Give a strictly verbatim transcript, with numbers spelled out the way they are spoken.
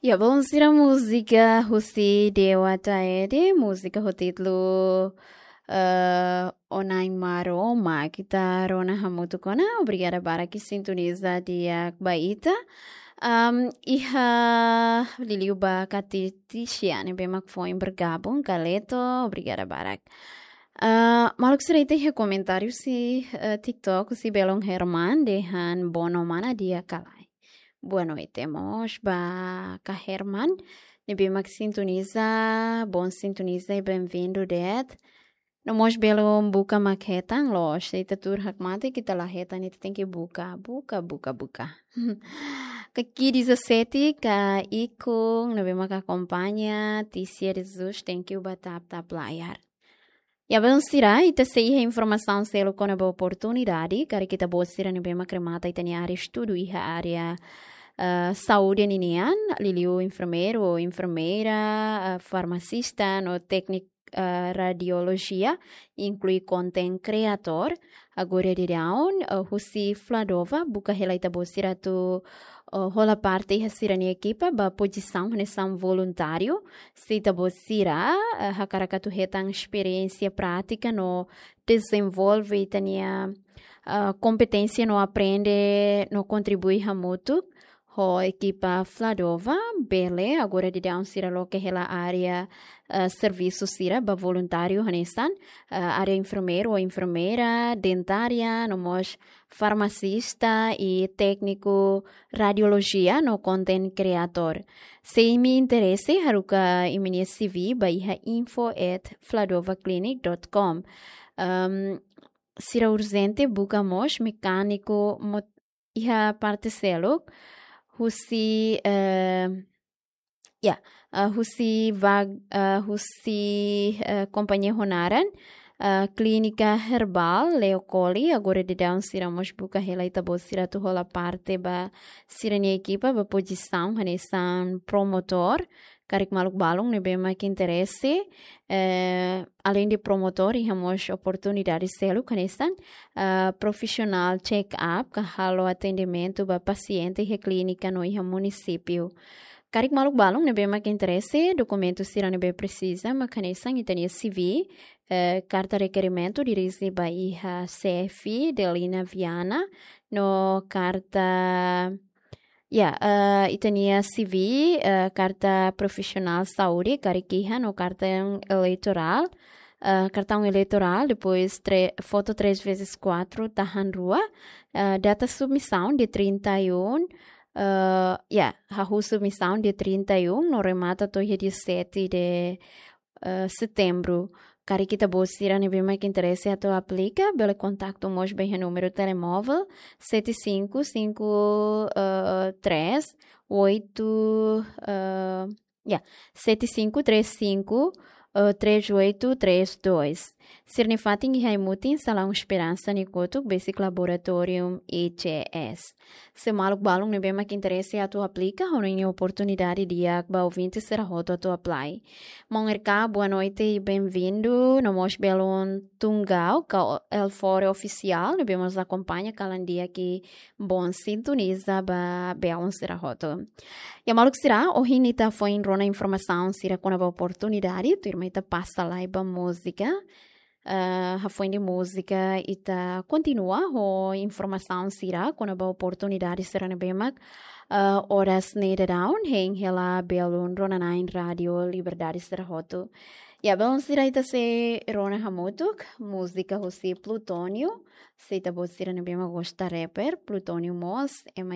Ya, bom, sira múzika husi Dewa Taede, múzika ho títulu, eh, Onain Maromak, ita rona hamutuk ona. Obrigada barak sintoniza di'ak ba ita. Am, iha liuliu ba Kati Tisia ne'ebé mak foin bergabung, Kaleto, obrigada barak. Ah, maluk sira, ita iha komentáriu husi, eh, TikTok, husi Belon Herman, dehan boa noite, mana di'ak ka lae. Boa noite mós ba Ka Herman, ne'ebé mak sintoniza, bom sintoniza i bem-vindo de'it. No mós belun buka mak hetan, loos, se ita tuur hakmatek ita la hetan, ita tenke buka, buka, buka, buka. Kaki dezassete, Ka Ikung, ne'ebé mak akompaña, Tisia de Jesus, thank you ba tap-tap layar. Ya, belun sira, ita sei iha informasaun seluk kona-ba oportunidade, karik ita-boot sira ne'ebé mak remata ita-nia área estudu iha área, eh, saúde ninian, liuliu enfermeiru ou enfermeira, eh, farmasista, no tékniku, eh, radiolojia, inklui content creator, agora daudaun, eh, husi Fladova, buka hela ita-boot sira atu, eh, hola parte iha sira-nia ekipa, ba pozisaun hanesan voluntáriu, se ita-boot sira, eh, hakarak atu hetan esperiénsia prátika no dezenvolve ita-nia, eh, kompeténsia no aprende no kontribui hamutuk ho ekipa Fladova, bele, agora daudaun sira loke hela área, eh, servisu sira ba voluntáriu hanesan, eh, área enfermeiru ou enfermeira, dentária, no mós farmasista i tékniku radiolojia no content creator. Se imi interese, haruka imi-nia C V ba iha info at fladovaclinic dot com. Ehm, sira urjente buka mós mekániku mot-, iha parte seluk, husi, eh, ya, eh, husi vag-, eh, husi, eh, kompañia ho naran, eh, Klínika Herbál Leo Colli, agora daudaun sira mós buka hela ita-boot sira atu hola parte ba sira-nia ekipa ba pozisaun hanesan promotór, karik maluk balun ne'ebé mak interese, eh, além de promotór, iha mós oportunidade seluk hanesan, eh, profissional check-up, ka halo atendimentu ba pasiente iha klínika no iha munisípiu. Karik maluk balun ne'ebé mak interese, dokumentu sira ne'ebé presiza mak hanesan ita-nia C V, eh, karta rekerimentu dirije ba iha C F Delina Viana, no karta, ya, eh, ita-nia C V, eh, karta profisionál saúde, karik iha, no kartaun eleitorál, eh, kartaun eleitorál, depois tre-, foto três vezes quatro, tahan rua, eh, data submisaun dia trinta e um, eh, ya, hahú submisaun dia trinta e um, no remata to'o iha dia sete de, eh, setembru. Karik ita-boot sira ne'ebé mak interese atu aplika, bele kontaktu mós ba iha númeru telemóvel sete cinco cinco, eh, três oito, eh, ya, sete cinco três cinco, eh, três oito três dois. Sira-nia fatin iha ai-mutin, Salaun Esperansa nia kotuk, besik Laboratorium I C S. Se maluk balun ne'ebé mak interese atu aplika, ho ninia oportunidade di'ak ba ouvinte sira hotu atu apply. Maun R K, boa noite i bem-vindo. No mós belun Tungau, ka o-, Elfore Ofisiál, ne'ebé mós akompaña kalan di'ak i bom sintoniza ba belun sira hotu. Ya maluk sira, ohin ita foin rona informasaun sira kona-ba oportunidade, tuirmai ita pasa lai ba múzika. Eh, hafoin de múzika ita kontinua ho informasaun sira kona-ba oportunidade sira ne'ebé mak, eh, oras ne'e daudaun hein hela belun rona-na'in Rádio Liberdade sira hotu. Ya, belun sira, ita sei rona hamutuk múzika husi Plutónio, se ita-boot sira ne'ebé mak gosta rapper, Plutónio mós ema